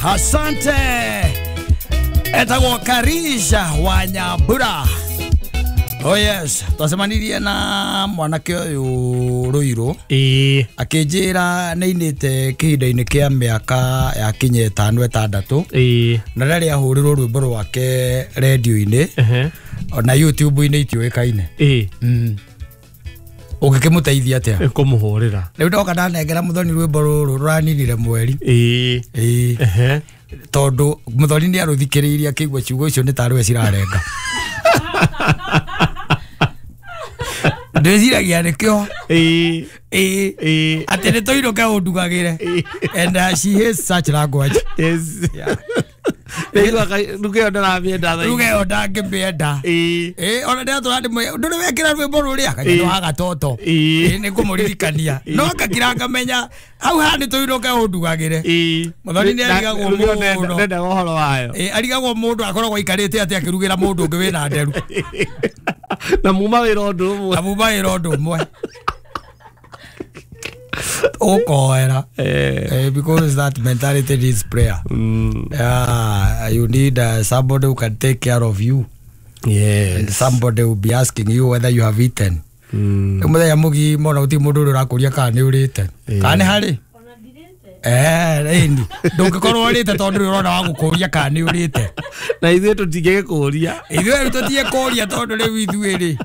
Asante. Etagwo Karisha wa Nyambura. Oh yes, twacemanirie na mwanake ũyũ Rũirũ. Ĩĩ. Akĩnjĩra nĩainĩte kĩhinda-inĩ kĩa mĩaka ya kinya ĩtano ĩtandatũ. Ĩĩ. Na rĩrĩa ahũrĩrwo rwĩmbo rwake rendio-inĩ ona YouTube-inĩ itiũĩkaine. Ĩĩ. Ũngĩkĩmũteithia atĩa? Kũmũhũrĩra. Rĩu ndoka ndanengera Muthoni rwĩmbo rũrũ rũraninire mweri. Ĩĩ. Ĩĩ. Tondũ Muthoni nĩ arũthikĩrĩirie akĩigua ciugo icio nĩ tarĩ we cirarenga. Ndĩciragia nĩkĩo. Ĩĩ. Ĩĩ. Atĩ nĩ tũinũke ũndugagĩre. And she hates such language. Yes. Yeah. Ruga ĩyo ndaramĩenda thaa ici. Ruga ĩyo ndangĩmĩenda. Ĩĩ. Ĩĩ, ona ndĩratũra ndĩmwĩre, ndũrĩ wekĩra rwĩmbo rũrĩa? Kanyamũ wa gatoto. Ĩĩ. Ĩĩ, nĩngũmũririkania. No ngakira ngamenya hau haha nĩ tũinũke ũndugagĩre. Ĩĩ. Muthoni nĩ arigagwo Ruga ĩyo mũno. ndendaga ũhoro wayo. Ĩĩ, arigagwo mũndũ akoragwo aikarĩte atĩ akĩrugĩra mũndũ ũngĩ wĩna nderu. Na muma wĩra ũndũ ũmwe. Na muma wĩra ũndũ ũmwe. Ũkoera. Because that mentality needs prayer. Yeah, you need somebody who can take care of you. Yes. And somebody will be asking you whether you have eaten. Mũthenya mũgima ona gũtirĩ mũndũ ũrĩa ũrakũria kana nĩ ũrĩte. Kana nĩ harĩ? Ĩni. Ndũngĩkorwo ũrĩte tondũ ndũrĩ ũrona wa gũkũria kana nĩ ũrĩte. Na ithuĩ tũtingĩgĩkũria. Ithuĩ rĩu tũtingĩkũria tondũ rĩu ithuĩ rĩ.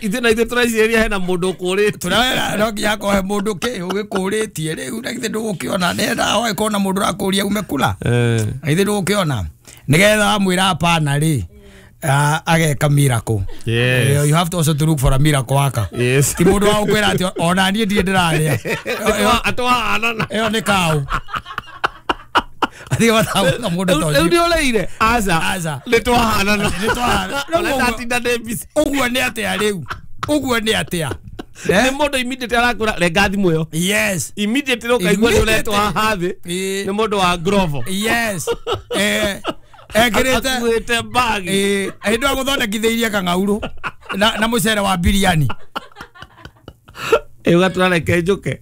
Ithuĩ na ithuĩ tũrecirĩria hena mũndũ ũkũrĩte. Tũrera no nginya hakorwo he mũndũ kĩ ũgĩkũrĩtie rĩu na githĩ ndũgũkĩona nĩgetha wagĩkorwo na mũndũ ũrakũria ume kura. Na githĩ ndũgũkĩona nĩgetha wamwĩra hapana rĩ. Ageka miracle. Yes. You have to also to look for a miracle worker. Yes. Ti mũndũ wa gũkwĩra atĩ ona niĩ ndirĩ ndĩrarĩa. Atwahanana. Ĩyo nĩ kaũ. Athiĩ matagũka mũndũ ta Rĩu ũcio. nĩ ũrĩire? Aca. Aca. Nĩ twahanana. Nĩ twahanana. Ona ndatinda ndĩ busy. Ũguo nĩ atĩa rĩu? Ũguo nĩ atĩa? Nĩ mũndũ immediately arakwĩra renga thimũ ĩyo. Yes. Immediately ũkaigua nĩ ũretwo haha thĩ. Ĩĩ. Nĩ mũndũ wa Grovo. Yes. Ekĩrĩte akuĩte bag. Ĩĩ, hĩndĩ ĩyo agũthondekithĩirie kang'aurũ na mũcere wa biriani. Ĩĩ, ũgatũra reke njũke.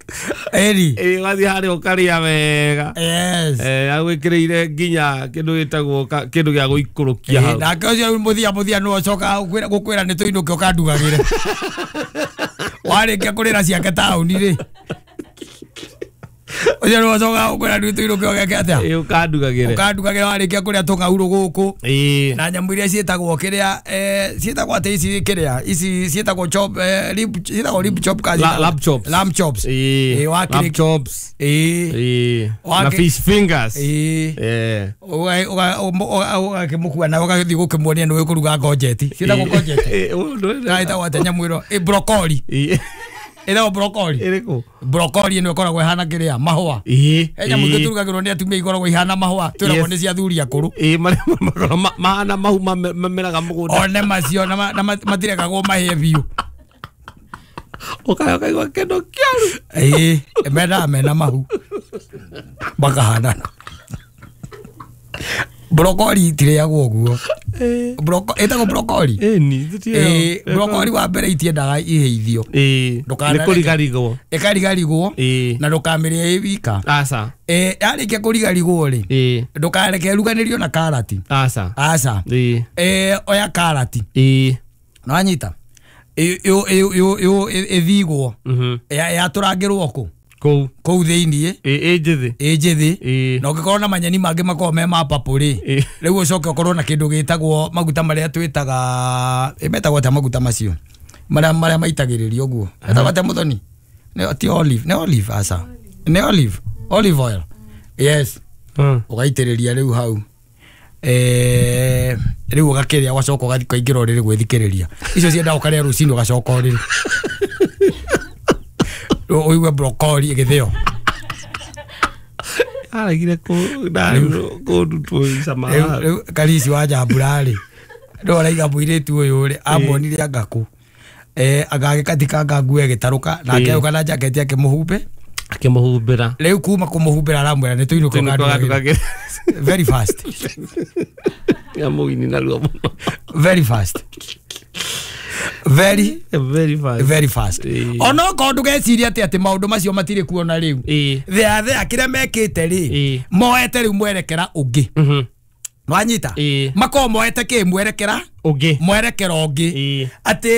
Ĩri. Ĩĩ, ũgathiĩ harĩa ũkarĩa wega. Yes. Agwĩkĩrĩire nginya kĩndũ gĩtagwo kĩndũ gĩa gũikũrũkia hau. Nake ũcio mũthia mũthia nĩwe ũcokaga gũkwĩra nĩ tũinũke ũkandugagĩre. Warĩkia kũrĩra ciake taũni rĩ. Ũcio nĩwe ũcokaga gũkwĩra nĩ tũinũke ũgeke atĩa? Ĩĩ, ũkandugagĩre. Ũkandugagĩre warĩkia kũrĩa tũng'aurũ gũkũ. Ĩĩ. Na nyamũ iria ciĩtagwo kĩrĩa, ciĩtagwo atĩ ici kĩrĩa, ici ciĩtagwo chop, rib, ciĩtagwo rib chop kana ciĩtagwo Lamb chops. Lamb chops. Ĩĩ. Ĩĩ, wakĩrĩ- Lamb chops. Ĩĩ. Ĩĩ. Wakĩ- Na fish fingers. Ĩĩ. Ĩĩ. Ũgakĩmũkua na ũgagĩthiĩ gũkĩmuonia nĩ ũĩ kũruga ngojeti. Ciĩtagwo ngojeti. Ĩĩ, ũũ ndũĩ- Na ĩtagwo atĩa nyamũ ĩno? Ĩ, broccoli. Ĩĩ. Ĩtagwo broccoli. Ĩrĩkũ? Broccoli ĩno ĩkoragwo ĩhana kĩrĩa? Mahũa. Ĩĩ. He nyamũ ingĩ tũrugagĩrwo nĩ atumia ikoragwo ihana mahũa, twĩragwo Yes. nĩ cia athuri akũrũ. Ĩĩ, marĩa makoragwo mahana mahu mameraga mũgũnda. One macio na matirekagwo mahĩe biũ. Ũkarĩa ũkaigua kĩndũ kĩaru. Ĩĩ, mendaga mena mahu. Makahanana. Broccoli itirĩagwo ũguo. Ĩtagwo broccoli? Ĩni, Ĩĩ, broccoli wa mbere itiendaga ihĩithio. Ĩĩ, Ndũkanareke. nĩ kũrigarigwo. Ĩkarigarigwo Ĩĩ. na ndũkamĩrĩe ĩ wika. Aca. Ĩĩ, yarĩkia kũrigarigwo rĩ, Ĩĩ. ndũkareke ĩruganĩrio na karati. Aca. Aca. Ĩĩ. Ĩĩ, oya karati. Ĩĩ. Nĩwanyita? Ĩthigwo. Yatũrangĩrwo kũ? Kũu. Kũu thĩiniĩ. Ĩĩ, ĩ njĩthĩ. Ĩ njĩthĩ. Ĩĩ. Na ũngĩkorwo na manyeni mangĩ makoragwo me ma purple rĩ, Ĩĩ. rĩu ũcoke ũkorwo na kĩndũ gĩtagwo maguta marĩa twĩtaga, ĩ, metagwo atĩa maguta macio? Marĩa maitagĩrĩrio ũguo. Metagwo atĩa Muthoni? Nĩ ti olive, nĩ olive aca. Nĩ olive, olive oil. Yes. Ũgaitĩrĩria rĩu hau. Rĩu ũgakĩrĩa ũgacoka ũgathiĩ ũkaingĩra ũrĩrĩ gwĩthikĩrĩria. Icio ciendaga ũkarĩa rũcinĩ ũgacoka ũrĩrĩ. Ũigue broccoli ĩgĩthĩo. Aregire kũndutwo cama. Rĩu Karisi wa Njambura rĩ, nĩwe ũraiga mũirĩtu ũyũ rĩ, amuonire anga kũ. Agagĩkatikanga nguo ĩgĩtarũka, nake Ĩĩ. agĩũka na jaketi akĩmũhumbe. Akĩmũhumbĩra. Rĩu kuma kũmũhumbĩra aramwĩra nĩ tũinũke ũkandugagĩre. Very fast. Ya mũgini narua mũno. Very fast. Very very fast. Very fast. Ono ko ndugeciria ati maundu macio matire kuona riu. Thea thea kiria mekite ri moete riu mwerekera ungi. Nwanyita mako moete ki mwerekera ungi. Mwerekera ungi. Ati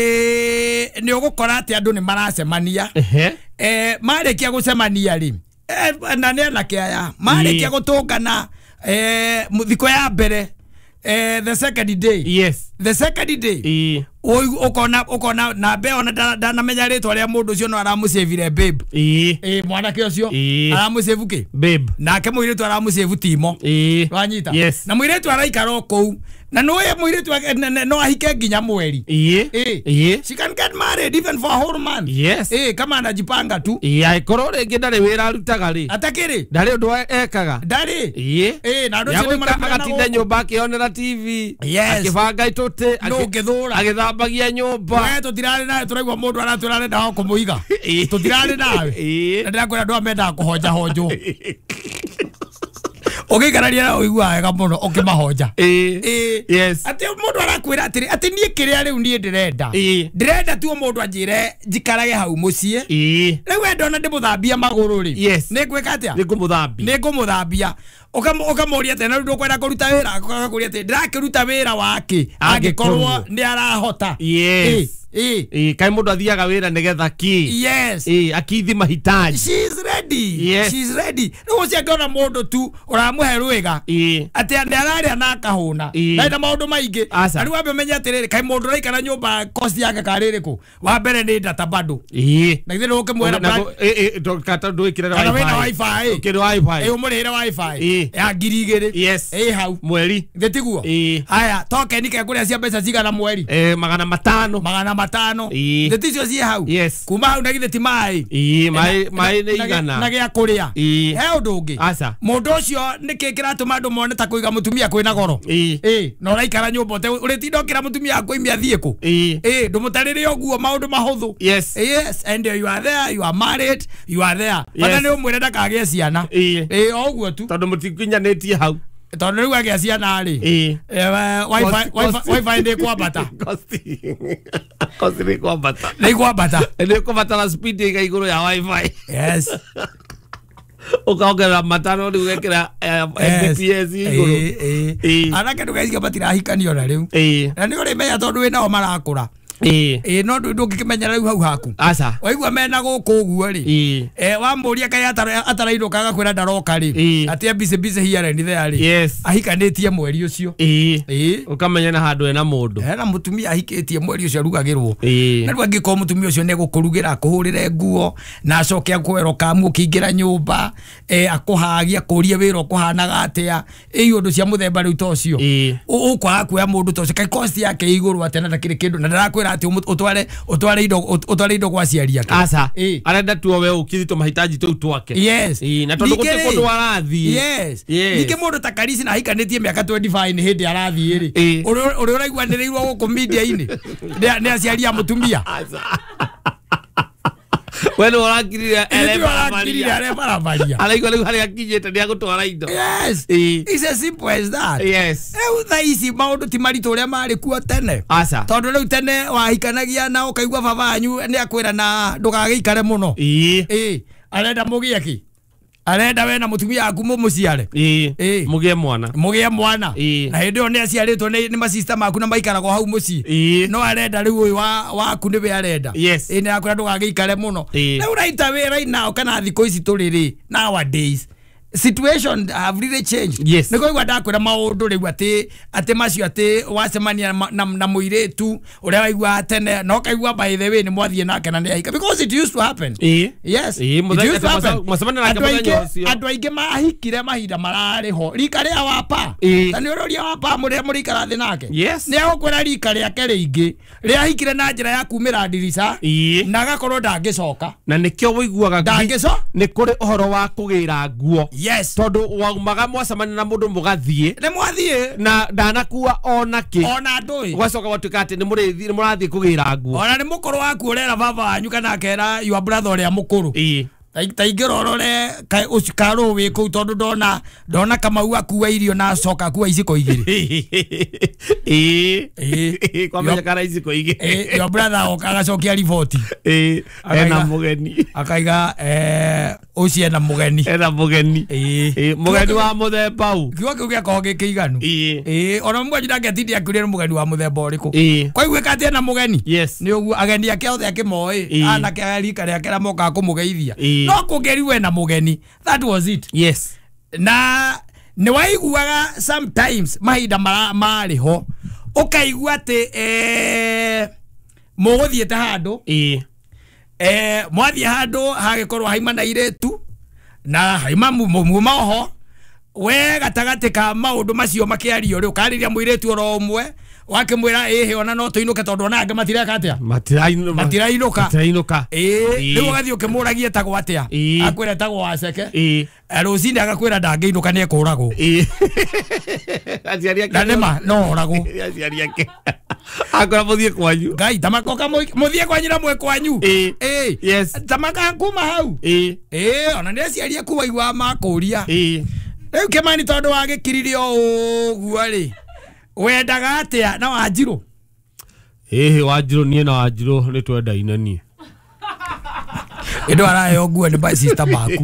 ni ugukora ati andu ni maracemania. Marikia gucemania ri na ne na kiaya marikia gutungana thiko ya mbere the second day. Yes. The second day. Ukona ukona na be ona ndanamenya ritwa ria mundu ucio no aramucevire babe. Mwanake ucio aramucevu ki babe. Nake muiritu aramucevu timo. Wanyita. Yes. Na muiritu araikara o kuu na no ye muiritu no ahike nginya mweri. She can get married even for a whole month. Yes. Kama anajipanga tu. Aikorwo ringi ndari wira arutaga ri. Atakiri. Ndari undu ekaga. Ndari. Na andu acio agatinda nyumba akionera TV. Yes. Akibanga itute. No ngithura. Agithambagia nyumba. We tutirari nawe turaigua mundu aratwira arenda o kumuiga. Tutirari nawe. Na ndirakwira andu amendaga kuhonja honjwo. Ugikararia na uigua wega muno ukimahonja. Yes. Ati mundu arakwira atiri ati nie kiria riu nie ndirenda. Ndirenda tu mundu anjire njikarage hau mucii. Riu we ndona ndimuthambia maguru ri. Yes. Ni ngwika atia? Ni ngumuthambia. Ni ngumuthambia. Ukamuria ati na riu ndukwenda kuruta wira akakuria ati ndirakiruta wira wake angikorwo ni arahota. Yes. Kai mundu athiaga wira nigetha ki. Yes. Akithi mahitaji. She is ready. Yes. She is ready. Riu ucio angiona mundu tu uramuhe rwiga ati ni araria na akahuna na ina maundu maingi. Na riu ambe menye atiriri kai mundu uraikara nyumba cost yake kaririku wa mbere ni data bado. Na githĩ ndũkĩmwĩra ndwikire wifi. Ukire wifi. Umurihire wifi ya 2000. Yes. Hau mweri. Githĩ tiguo? Haya token ke kuria cia mbeca cigana mweri? 500. 500. Githĩ ticio ciĩ hau? Yes. Kuma hau na githĩ ti maĩ? Maĩ nĩ igana. Na gĩa kũrĩa. He ũndũ ũngĩ. Aca. Mũndũ ũcio nĩkĩ kĩratũma andũ mone ta kũiga mũtumia kwĩna goro? Na ũraikara nyũmba ũrĩtinda ũkĩra mũtumia akũimia athiĩ kũ? Ndũmũtarĩre ũguo maũndũ mahũthũ. Yes. Yes, and you are there, you are married, you are there. Bata nĩ ũmwĩre ndakagĩe ciana. O ũguo tu. Tondũ mũtikinyanĩtie hau. Tondũ rĩu agĩa ciana rĩ. Wifi ndĩ kwambata. Cost nĩ kwambata. Nĩ kwambata. Nĩ kwambatara speed ĩga igũrũ ya wifi. Yes. Ukaongerera matano rĩu ũgekĩra Mbps igũrũ. Anake ndũgeciria matirahikanio na rĩu. Na nĩ ũrĩmenya tondũ wĩnao marakũra. No ndũngĩkĩmenya rĩu hau haku. Aca. Waigua mena gũkũ ũguo rĩ. Wamũria kaĩ atarainũka agakwĩra ndaroka rĩ. Atĩ busy busy here and there rĩ. Yes. Ahikanĩtie mweri ũcio. Ũkamenya na handũ hena mũndũ. Hena mũtumia ahikĩtie mweri ũcio arugagĩrwo. Na rĩu angĩkorwo mũtumia ũcio nĩ egũkũrugĩra akũhũrĩre nguo na acoke akwĩra ũkamu ũkĩingĩra nyũmba akũhagie akũrie wĩra ũkũhanaga atĩa ũndũ cia mũthemba rĩu ta ũcio. Ũkwaga kuoya mũndũ ta ũcio kaĩ cost yake ĩ igũrũ atĩa na ndakĩrĩ kĩndũ na ndarakwĩra ati utware indo kwa aciari ake. Aca. Arenda tu we ukithito mahitaji tu twake. Yes. Na tondu guti kundu arathie. Yes. Ningĩ mũndũ ta Karisi na ahikanĩtie mĩaka 25 nĩ hĩndĩ arathiĩ rĩ. Ũrĩa ũraiguanĩrĩirwo gũkũ media-inĩ nĩ aciari a mũtumia. Aca. We nĩ ũrakirire arebarabaria. Araigua rĩu harĩa akinyĩte nĩ agũtwara indo. Yes. It's as simple as that. Yes. Rĩu thaa ici maũndũ ti maritũ ũrĩa marĩ kuo tene. Aca. Tondũ rĩu tene wahikanagia na ũkaigua baba wanyu nĩ akwĩra na ndũgagĩikare mũno. Arenda mũgĩe kĩ? Arenda we na mũtumia waku mũmũciare. Mũgĩe mwana. Mũgĩe mwana. Na hĩndĩ ĩyo nĩ aciarĩtwo nĩ masista maku na maikaragwo hau mũciĩ. No arenda rĩu ũyũ waku nĩwe arenda. Yes. Nĩ akwĩra ndũgagĩikare mũno. Rĩu raita wĩ right now kana thikũ ici tũrĩ rĩ nowadays situation have really changed. Yes. Nĩ kũigua ndakwĩra maũndũ rĩu atĩ macio atĩ wacemania na mũirĩtu ũrĩa waigua tene na ũkaigua by the way nĩ mwathiĩ nake na nĩ ahika because it used to happen. Yes. It used to happen. Andũ aingĩ mahikire mahinda mararĩ ho rika rĩa wapa. Ta nĩ ũroria wapa mũrĩa mũrĩikara thĩ nake. Yes. Nĩ agũkwĩra rika rĩake rĩingĩ rĩahikire na njĩra ya kumĩra ndirica na agakorwo ndangĩcoka. Na nĩkĩo wũiguaga ndangĩcoka nĩ kũrĩ ũhoro wa kũgĩra nguo. Yes. Tondu waumaga mwacemania na mundu mugathie ni mwathie na ndanakua ona ki ona ndui gwacoka gwatuika ati ni murathie kugira nguo ona ni mukuru waku urera baba wanyu kana akera your brother uria mukuru. Ta ingĩra ũrore karũ wĩ kũu tondũ ndona Kamau akua irio na acoka akua iciko igĩrĩ. Ĩĩ kwamenya kana iciko igĩrĩ. Your brother oka agacokia riboti. Ĩĩ ena mũgeni. Akaiga ũcio ena mũgeni. Ena mũgeni. Ĩĩ mũgeni wa mũthemba ũ. Kiugo kĩu gĩakorwo gĩ kĩiganu. Ĩĩ ona mwanyu ndangĩatindia akiuria nĩ mũgeni wa mũthemba ũrĩkũ. Kwaiguĩka atĩ ena mũgeni. Nĩ ũguo ageni ake othe akĩmoĩ anake a rika rĩake arĩa mokaga kũmũgeithia. No kũngĩrigwo ena mũgeni. That was it. Yes. Na nĩ waiguaga sometimes mahinda marĩ ho ũkaigua atĩ mũgũthiĩte handũ. Mwathiĩ handũ hagĩkorwo haima na irĩtu na haima muma oho we gatagatĩ ka maũndũ macio makĩario rĩ ũkarĩria mũirĩtu oro ũmwe wakĩmwĩra ĩhĩ ona no tũinũke tondũ ona angĩ matireka atĩa matirainũka. Ĩĩ rĩu ũgathiĩ ũkĩmũragia etagwo atĩa akwĩra etagwo Waceke. Rũcinĩ agakwĩra ndangĩinũka nĩ ekũragwo. Na nĩma no oragwo. Aciari ake akwĩra mũthiĩ kwanyu. Ngai tamakoka mũthiĩ kwanyu na mwĩ kwanyu. Ĩĩ yes tamaka kuma hau. Ĩĩ ona nĩ aciari aku waigua makũria. Rĩu Kĩmani tondũ wagĩkiririe o ũguo rĩ wendaga atĩa na Wanjirũ? Ĩhĩ Wanjirũ niĩ na Wanjirũ nĩ twendaine niĩ. Ĩndũ araheo nguo nĩ my sister maku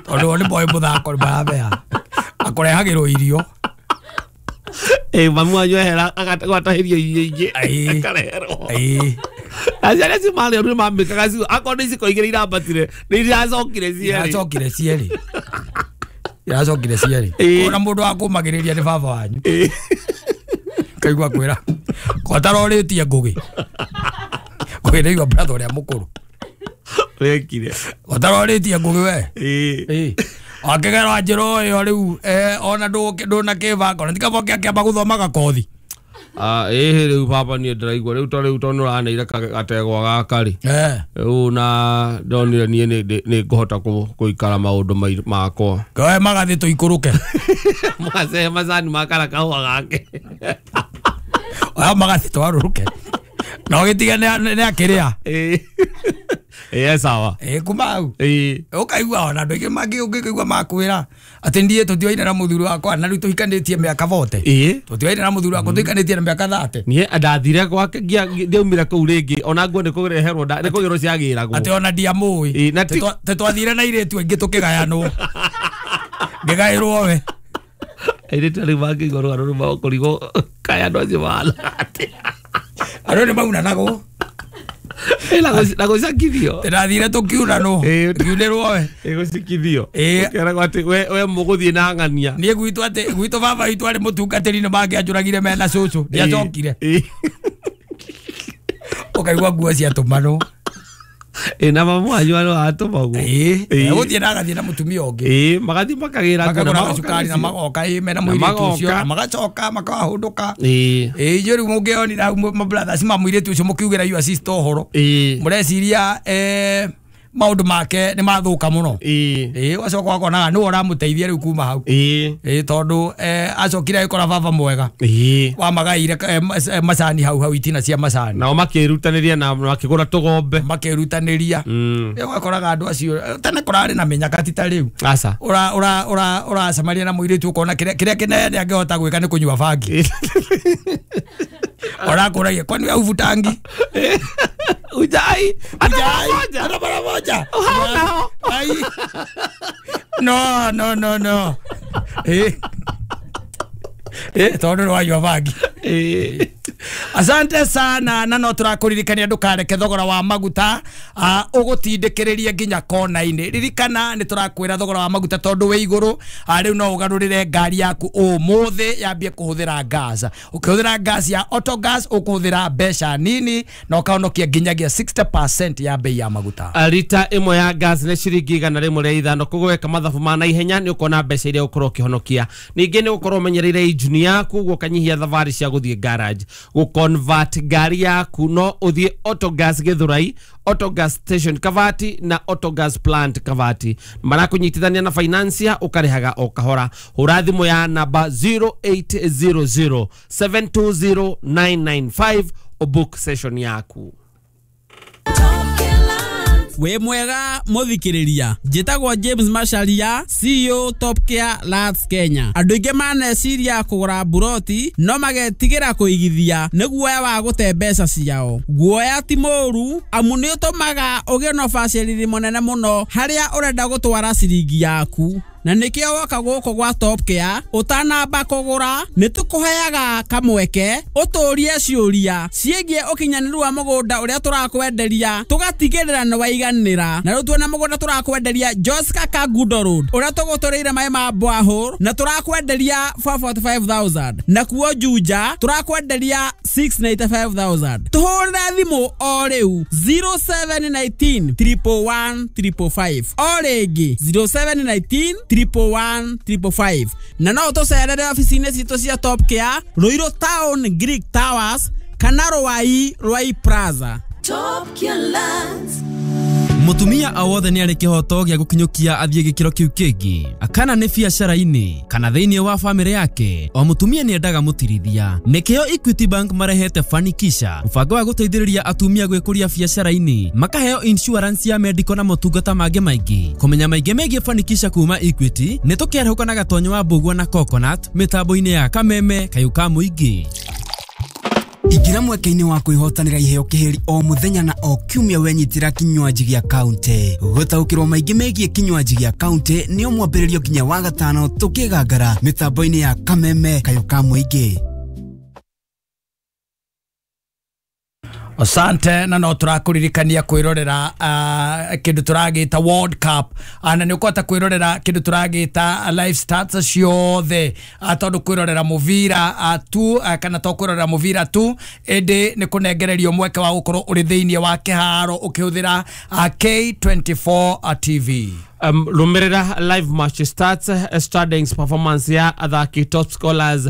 tondũ o nĩ moĩ mũthako nĩ maramea akũrehagĩrwo irio. Mamu wanyu ehera agatahĩrio irio ingĩ akareherwo. Aciari acio marĩ oru nĩ mamĩkaga ciugo akorwo nĩ iciko igĩrĩ irambatire nĩ iracokire cierĩ. Iracokire cierĩ. Ona mũndũ wa kũmagĩrĩria nĩ baba wanyu. Kaigua kwĩra kwatarorĩtie Ngũgĩ. Ngũgĩ nĩ igua brother ũrĩa mũkũrũ. Wekire. Watarorĩtie Ngũgĩ we. Ĩĩ. Akĩgera Wanjirũ ĩyo rĩu ona ndũnakĩbanga ona ti kaba ũkĩamba gũthoma gakothi. Ĩhĩ rĩu baba niĩ ndĩraigua rĩu to rĩu tondũ nĩũraneire gategwa gaka rĩ. Rĩu na ndonire niĩ nĩ ngũhota gũikara maũndũ makwa. Koe magathĩ tũikũrũke. Mũgacehe macani ma kana kahũa gake. Oya magathĩ twarũrũke. Na ũgĩtige nĩ akĩrĩa. Ĩĩ sawa. Ĩĩ kuma hau. Ũkaigua ona andũ aingĩ mangĩ ũngĩkaigua makwĩra atĩ niĩ tũtioine na mũthuri wakwa na rĩu tũhikanĩtie mĩaka 40. Tũtioine na mũthuri wakwa tũhikanĩtie na mĩaka 30. Niĩ ndathire gwake ndiaumire kũu rĩngĩ ona nguo nĩ kũreherwo nĩ kũgĩrwo ciagĩragwo. Atĩ ona ndiamũĩ. Tĩ twathire na airĩtu aingĩ tũkĩgayanwo. Ngĩgaĩrwo we. Airĩtu rĩu mangĩigua rũgano rũu makũrigwo kaĩ andũ acio mahana atĩa. Andũ nĩ maunanagwo. Na gũcakithio. Ndathire tũkiunanwo. Ngiunĩrwo we. Gũcikithio. Ũkeragwo atĩ we mũgũthiĩ na ng'ania. Niĩ gwitũ atĩ gwitũ baba witũ arĩ mũtungatĩri nĩ mangĩanjũragire mena cũcũ. Ndiacokire. Ũkaigua nguo ciatũmanwo. Na mamu wanyu arĩ watũmagwo. Gũthiĩ na agathiĩ na mũtumia ũngĩ. Magathiĩ makagĩra makagũra cukari na magoka mena mũirĩtu ũcio na magacoka makahũndũka. Inyuĩ rĩu mũngĩonire hau mabrothers ma mũirĩtu ũcio mũkiugĩra your sister ũhoro. Mũreciria maũndũ make nĩ mathũka mũno. Ũgacoka ũkonaga nĩwe ũramũteithia rĩu kuma hau. Tondũ acokire agĩkora baba mwega. Wamagaĩire macani hau hau itina cia macani. Nao makĩrutanĩria na makĩgũra tũgombe. Makĩrutanĩria. Ũgakoraga andũ acio tene kũrarĩ na mĩnyaka ti ta rĩu. Aca. Ũracemania na mũirĩtu ũkona kĩrĩa kĩnene angĩhota gwĩka nĩ kũnyua bangi. Ũrakũragia kwani we huvutangi? Ujai. Hata mara moja. Ai. No no no no. Tondũ nĩ wanyua bangi. Asante sana na no tũrakũririkania ndũkareke thogora wa maguta ũgũtindĩkĩrĩrie nginya kona-inĩ. Ririkana nĩ tũrakwĩra thogora wa maguta tondũ wĩ igũrũ rĩu no ũgarũrĩre ngari yaku ũmũthĩ yambie kũhũthĩra gas. Ũkĩhũthĩra gas ya Autogas ũkũhũthĩra mbeca nini na ũkahonokia nginyagia 60% ya bei ya maguta. Rita ĩmwe ya gas nĩ ciringi 105 koguo weka mathabu ma naihenya nĩ ũkona mbeca iria ũkorwo ũkĩhonokia. Ningĩ nĩ ũkorwo ũmenyereire injini yaku ũguo ũkanyihia thabarĩ cia gũthiĩ garage. Gũconvert ngari yaku no ũthiĩ Autogas Githurai, Autogas Station Kavati na Autogas Plant Kavati. Marakũnyitithania na financia ũkarĩhaga o kahora. Hũra thimũ ya namba 0800 720 995 ũbook session yaku. Wĩ mwega mũthikĩrĩria, njĩtagwo James Macharia, CEO Top Care Lands Kenya. Andũ aingĩ maneciria kũgũra mburoti no magetigĩra kũigithia nĩ guoya wa gũte mbeca ciao. Guoya ti mũũru amu nĩ ũtũmaga ũgĩe na ũbacĩrĩri mũnene mũno harĩa ũrenda gũtwara ciringi yaku, na nĩkĩo woka gũkũ gwa Top Care ũtanamba kũgũra nĩ tũkũheaga kamweke ũtũrie ciũria ciĩgiĩ ũkinyanĩru wa mũgũnda ũrĩa tũrakwenderia, tũgatigĩrĩra nĩ waiganĩra. Na rĩu tuona mũgũnda tũrakwenderia Joska Kangundo Road ũrĩa tũgũtũrĩire maĩ ma borehole na tũrakwenderia 445,000, nakuo Juja tũrakwenderia 695,000. Tũhũrĩre thimũ o rĩu 0719 111 555, o rĩngĩ 0719 111 555, na no ũtũcerere obici-inĩ citũ cia Top Care Ruiru Town Greek Towers kana Ruai Ruai Plaza. Top Care Lands. Mutumia o wothe nĩ arĩ kĩhoto gĩa gũkinyũkia athiĩ gĩkĩro kĩu kĩngĩ, kana nĩ biacara-inĩ kana thĩinĩ wa bamĩrĩ yake. O mũtumia nĩ endaga mũtirithia. Nĩkĩo Equity Bank marehete Fanikisha, mũbango wa gũteithĩrĩria atumia gwĩkũria biacara-inĩ, makaheo insurance ya medical na motungata mangĩ maingĩ. Kũmenya maingĩ megiĩ Fanikisha kuma Equity nĩ tũkĩarahũka na Gatonyo wa Mbũgua na Coconut mĩtambo-inĩ ya Kameme Kayũ ka Mũingĩ. Ingĩra mweke-inĩ wa kwĩhotanĩra iheo kĩhĩri o mũthenya na o kiumia wenyitĩra kinywaji gĩa kaunti. Gũtaũkĩrwo maingĩ megiĩ kinywaji gĩa kaunti nĩ o mwambĩrĩrio nginya wa gatano tũkĩgangara mĩtambo-inĩ ya Kameme Kayũ ka Mũingĩ. Asante, na no tũrakũririkania kwĩrorera kĩndũ tũragĩta World Cup, na nĩ ũkũhota kwĩrorera kĩndũ tũragĩta live stats ciothe, tondũ kwĩrorera mũbira tu kana to kwĩrorera mũbira tu, ĩndĩ nĩ kũnengererio mweke wa gũkorwo ũrĩ thĩinĩ wa kĩharo ũkĩhũthĩra K24 TV. Lumirira live match stats, standings, performance ya athaki, top scholars,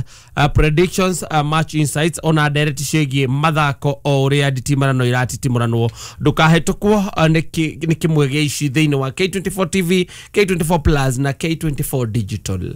predictions, match insights ona direct ciĩgiĩ mathako o ũrĩa nditimarano iratitimuranwo. Ndũkahĩtũkwo nĩ kĩmwe gĩa ici thĩinĩ wa K24 TV, K24 Plus na K24 Digital.